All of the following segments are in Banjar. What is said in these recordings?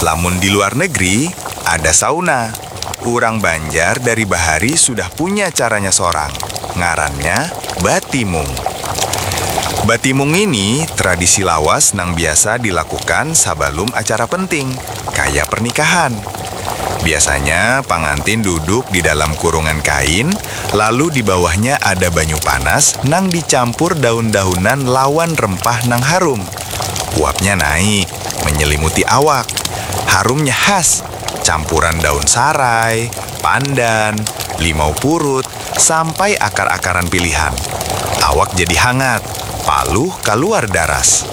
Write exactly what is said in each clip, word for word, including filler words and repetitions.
Lamun di luar negeri, ada sauna. Urang Banjar dari bahari sudah punya caranya sorang. Ngarannya batimung. Batimung ini tradisi lawas nang biasa dilakukan sabalum acara penting, kaya pernikahan. Biasanya pangantin duduk di dalam kurungan kain, lalu di bawahnya ada banyu panas nang dicampur daun-daunan lawan rempah nang harum. Uapnya naik, menyelimuti awak. Harumnya khas, campuran daun sarai, pandan, limau purut, sampai akar-akaran pilihan. Awak jadi hangat, paluh kaluar daras.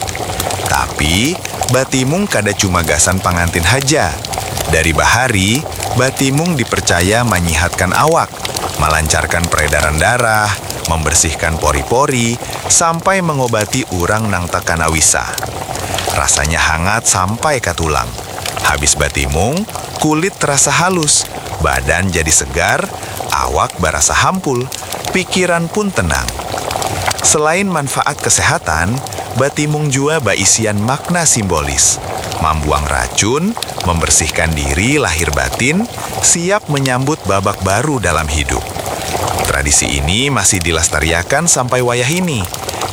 Tapi, batimung kada cuma gasan pangantin haja. Dari bahari, batimung dipercaya manyihatkan awak, malancarkan peredaran darah, membersihkan pori-pori, sampai mengobati urang nang takana wisa. Rasanya hangat sampai ka tulang. Habis batimung, kulit terasa halus, badan jadi segar, awak barasa hampul, pikiran pun tenang. Selain manfaat kesehatan, batimung jua baisian makna simbolis, mambuang racun, membersihkan diri lahir batin, siap menyambut babak baru dalam hidup. Tradisi ini masih dilestariakan sampai wayah ini.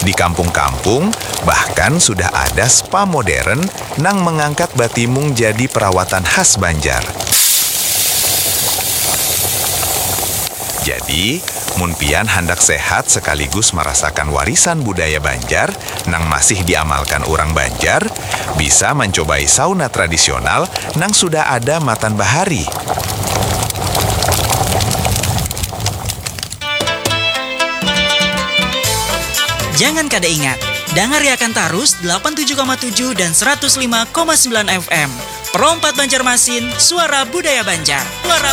Di kampung-kampung, bahkan sudah ada spa modern nang mengangkat batimung jadi perawatan khas Banjar. Jadi, mun pian handak sehat sekaligus merasakan warisan budaya Banjar nang masih diamalkan urang Banjar, bisa mancobai sauna tradisional nang sudah ada matan bahari. Jangan kada ingat, dangariakan tarus delapan tujuh koma tujuh dan seratus lima koma sembilan F M. Pro empat Banjarmasin, suara budaya Banjar. Suara